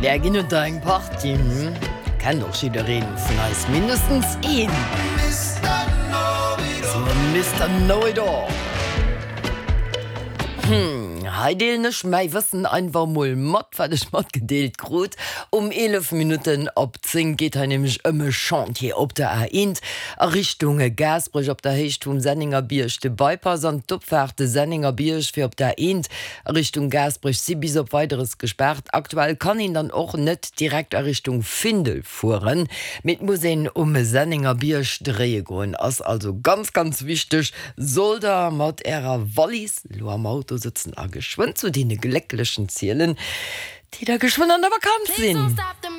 Där ginn et der eng Partie, hm? Kennt och jiddereen vun eis mindestens een. Sou e Mister Know-it-all. Hm, hei deelen ech mäi Wëssen einfach mol mat, wat ech matgedeelt krut. Um 11 Minutten op 10 geet hei nämlech ëm e Chantier op der A1 a Richtung Gaasperech op der Héicht vum Senningerbierg. De Bypass an d'Opfaart Senningerbierg fir op der A1 A Richtung Gaasperech si bis op Weideres gespaart. Aktuell kann een dann och net direkt a Richtung Findel fueren, mee et muss een um Sennengerbierg dréie goen. Ass also ganz ganz wichteg, sollt der mat ärer Wallis elo am Auto sëtzen a geschwënn zu deene Glécklechen zielen, déi da geschwënn an der Vakanz sinn.